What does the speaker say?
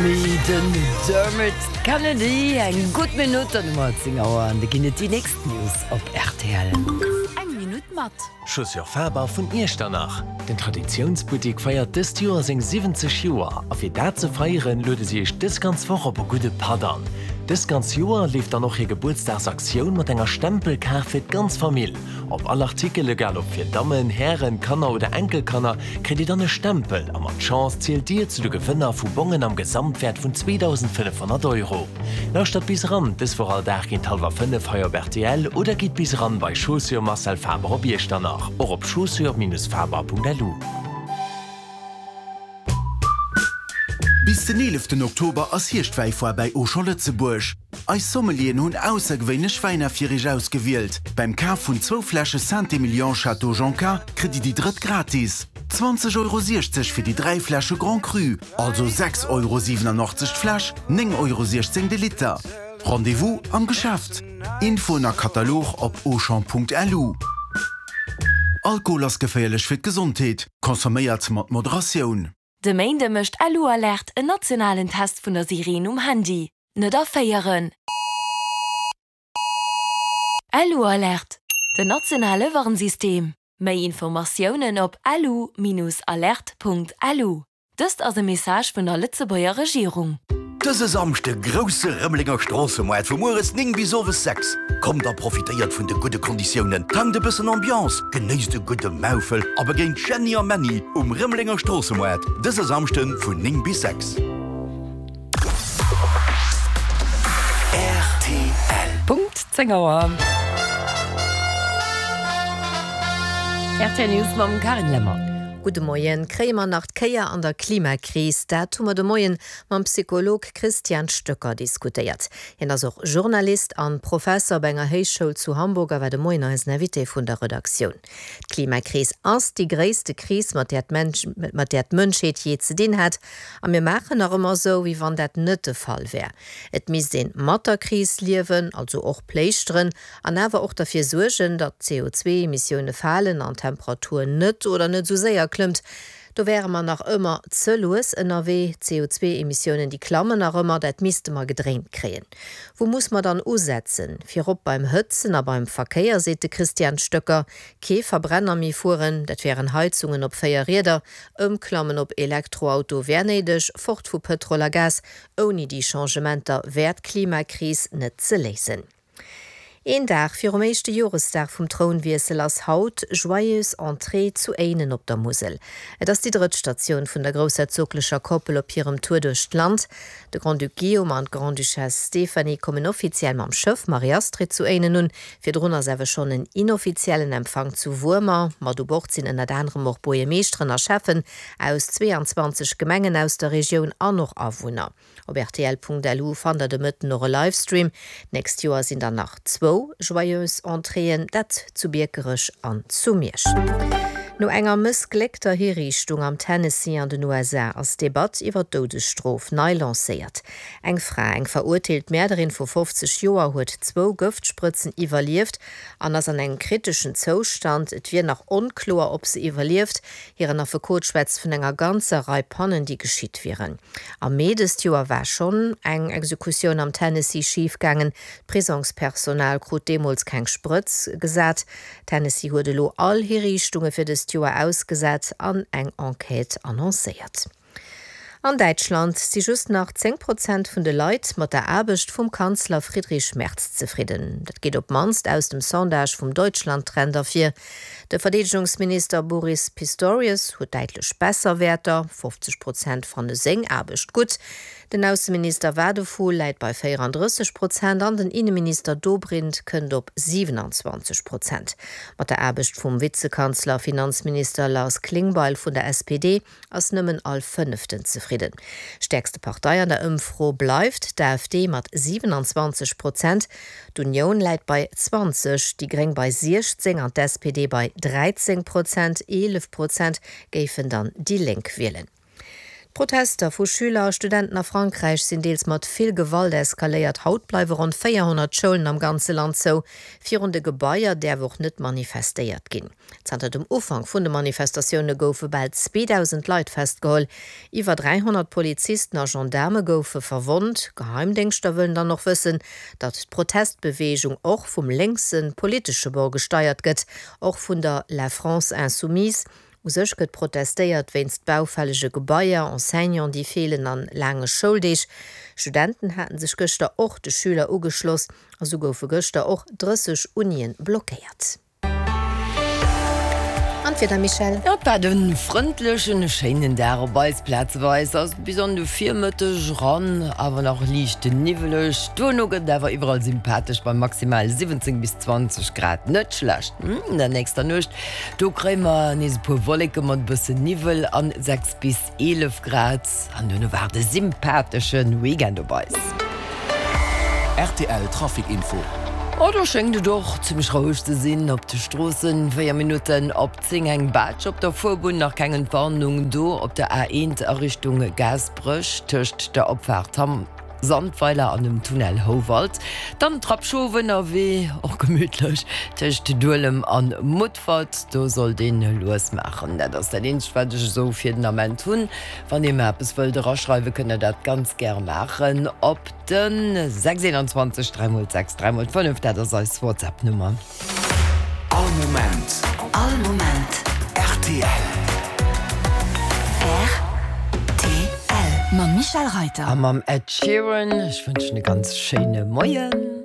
Den Dermot Kennedy, eng gutt Minutt, dann hu mer 10 Auer an da ginn et déi nächst News op rtl. Eng Minutt mat. Chaussures Faber vun Iechternach. Den Traditiounsbuttik feiert dëst Joer seng 70 Joer a fir dat ze feieren, luede si iech dës ganz Woch op e gudde Patt an. Dëst ganz Joer leeft dann och hir Gebuertsdagsaktioun mat enger Stempelkaart fir d'ganz Famill. Op all Artikel, egal ob fir Dammen, Hären, Kanner oder Enkelkanner, kritt Dir dann e Stempel a mat Chance zielt Dir zu de Gewënner vu Bongen am Gesamtwäert vun 2.500 Euro. Lauschtert bis eran, dës Woch all Dag géint hallwer 5 hei op rtl oder gitt bis eran bei Chaussures Marcel Faber op Iechternach, och op chaussures-faber.lu. Bis den eeleften Oktober ass Hierschtwäifoire bäi Auchan Lëtzebuerg. Eis Sommelieren hunn aussergewéinlech Wäiner fir iech ausgewielt. Beim Kaf vun zwou Fläsche Saint-Emilion Château Jonca kritt dir déi drëtt gratis. 20,60 Euro fir déi 3 Fläsche Grand Cru, also 6,87 Euro d'Fläsch, 9,16 Euro de Liter. Rendez-vous am Geschäft. Infoen a Katalog op auchan.lu. Alkohol ass geféierlech fir d'Gesondheet. Consomméiert mat Moderatioun. De Méinde mécht LU-Alert en nationalen Test vun der Sireen um Handy. Net erféieren! LU-Alert, den nationale Warnsystem. Méi Informatiounen op lu-alert.lu. Dëst ass e Message vun der Lëtzebuerger Regierung. Dëse Samschde grousse Rëmelenger Stroossemoart vu mueres 9 bis owes 6. Kommt a profitéiert vun de gudde Konditiounen, tankt e bëssen Ambiance, genéisst e gudde Maufel a begéint Jeanny a Männy um Rëmelenger Stroossemoart dëse Samschde vun 9 bis 6. Rtl. Punkt 10 Auer. Rtl News mam Carine Lemmer. Gudde Moien. Kréie mer nach d'Kéier an der Klimakris? Dat hu mer de Moien mam Psycholog Christian Stöcker diskutéiert. Hien ass och Journalist an Professer op enger Héichschoul zu Hamburg a war de Moien eisen Invité vun der Redaktioun. D'Klimakris ass déi gréisste Kris, mat där d'Mënschheet jee ze dinn hat. A mir maachen nach ëmmer esou, wéi wann dat net de Fall wär. Et misst een mat der Kris liewen, also och pléischteren, an awer och derfir suergen, datt d'CO2-Emissioune falen an d'Temperatur net oder net esou séier klëmmt. Do wäre mer nach ëmmer ze lues ënnerwee. D'CO2-Emissiounen, déi klammen nach ëmmer, dat misste mer gedréint kréien. Wou muss mer dann usetzen? Virop beim Hëtzen a beim Verkéier, seet de Christian Stöcker. Kee Verbrenner méi fueren, dat wären Heizungen op 4 Rieder, Ëmklammen op Elektroauto wär néideg, fort vu Pëtrol a Gas. Ouni déi Changementer wär d'Klimakris net ze léisen. Een Dag virum éischte Joresdag vum Trounwiessel ass haut Joyeuse Entrée zu Éinen op der Musel. Et ass déi drëtt Statioun vun der groussherzoglecher Koppel op hirem Tour duerch d'Land. De Grand-Duc Guillaume an d'Grande-Duchesse Stéphanie kommen offiziell mam Schëff Marie-Astrid zu Éinen un. Virdrun ass awer schonn en inoffiziellen Empfang zu Wuermer. Mat u Bord sinn ënnert anerem och Buergermeeschteren a Schäffen aus 22 Gemengen aus der Regioun an och Awunner. Op rtl.lu fannt der de Mëtten och e Livestream. D'nächst Joer sinn dann nach zwou Joyeuse Entréeën, dat zu Biekerech an zu Miersch. No enger mëssgléckter Hiriichtung am Tennessee an den USA ass d'Debatt iwwer d'Doudesstrof nei lancéiert. Eng Fra, eng verurteelt Mäerderin vu 50 Joer, huet zwou Gëftsprëtzen iwwerlieft an ass an engem kriteschen Zoustand. Et wier nach onkloer, ob se iwwerlieft. Hiren Affekot schwätzt vun enger ganzer Rei Pannen, déi geschitt wieren. Am Mee dëst Joer war schonn eng Exekutioun am Tennessee schif gaangen. D'Prisongspersonal krut deemools keng Sprëtz gesat. Tennessee huet elo all Hiriichtunge fir dëst Joer ausgesat an eng Enquête annoncéiert. An Däitschland si just nach 10 Prozent vun de Leit mat der Aarbecht vum Kanzler Friedrich Merz zefridden. Dat geet op d'mannst aus dem Sondage vum Deutschland-Trend ervir. De Verdeedegungsminister Boris Pistorius huet däitlech besser Wäerter, 50 Prozent fanne seng Aarbecht gutt. Den Ausseminister Wadephul läit bei 34 Prozent an den Inneminister Dobrindt kënnt op 27 Prozent. Mat der Aarbecht vum Vizekanzler a Finanzminister Lars Klingbeil vun der SPD ass nëmmen all Fënneften zefridden. Stäerkste Partei an der Ëmfro bleift d'AfD mat 27 Prozent. D'Unioun läit bei 20, déi Gréng bei 16 an d'SPD bei 13 Prozent. 11 Prozent géifen dann déi Lénk wielen. D'Protester vu Schüler a Studenten a Frankräich sinn deels mat vill Gewalt eskaléiert. Haut bleiwe ronn 400 Schoulen am ganze Land zou. Virun de Gebaier däerf och net manifestéiert ginn. Zanter dem Ufank vun de Manifestatioune goufe bal 2.000 Leit festgeholl. Iwwer 300 Polizisten a Gendaarme goufe verwonnt. Geheimdéngschter wëllen dann och wëssen, datt d'Protestbeweegung och vum lénkse politesche Bord gesteiert gëtt, och vun der La France Insoumise. U sech gëtt protestéiert wéinst baufällege Gebaier, Enseignant déi feelen an laange Schouldeeg. Studenten haten sech gëschter och de Schüler ugeschloss a sou goufe gëschter och 30 Unien blockéiert. An d'Wieder, Michèle? Jo, et waart e frëndlechen, schéinen Dag op eis. Plazeweis ass et bis an de Virmëtteg eran awer nach liicht niwweleg. Duerno gëtt et awer iwwerall sympathesch bei maximal 17 bis 20 Grad. Net schlecht, hm? An der nächster Nuecht Do kréie mer nees e puer Wolleke mat e bëssen Niwwel an 6 bis 11 Grad. An duerno waart e sympathesche Weekend op eis. Rtl Trafic Info. Oh, do schéngt et och zimmlech roueg ze sinn op de Stroossen. 4 Minutten op 10, eng Baatsch op der Fuerbunn, nach keng Entwarnung do op der A1 a Richtung Gaasperech tëscht der Opfaart Hamm. Sandweiler an dem Tunnel Houwald. Dann Trapp Schof ënnerwee, och gemütlech, tëscht Duelem an Mutfert. Do sollt een lues maachen. Dat ass dat eenzegt wat ech esou fir den Ament hunn. Wann dir mer eppes wëllt eraschreiwen, kënnt der dat ganz gäre maachen op de 6 21 3 x 6 3 x 5. Dat ass eis WhatsApp Nummer. All Moment. All Moment. Rtl. Rtl. Mam Michèle Reiter. A mam Ed Sheeran. Ech wënschen e ganz schéine Moien.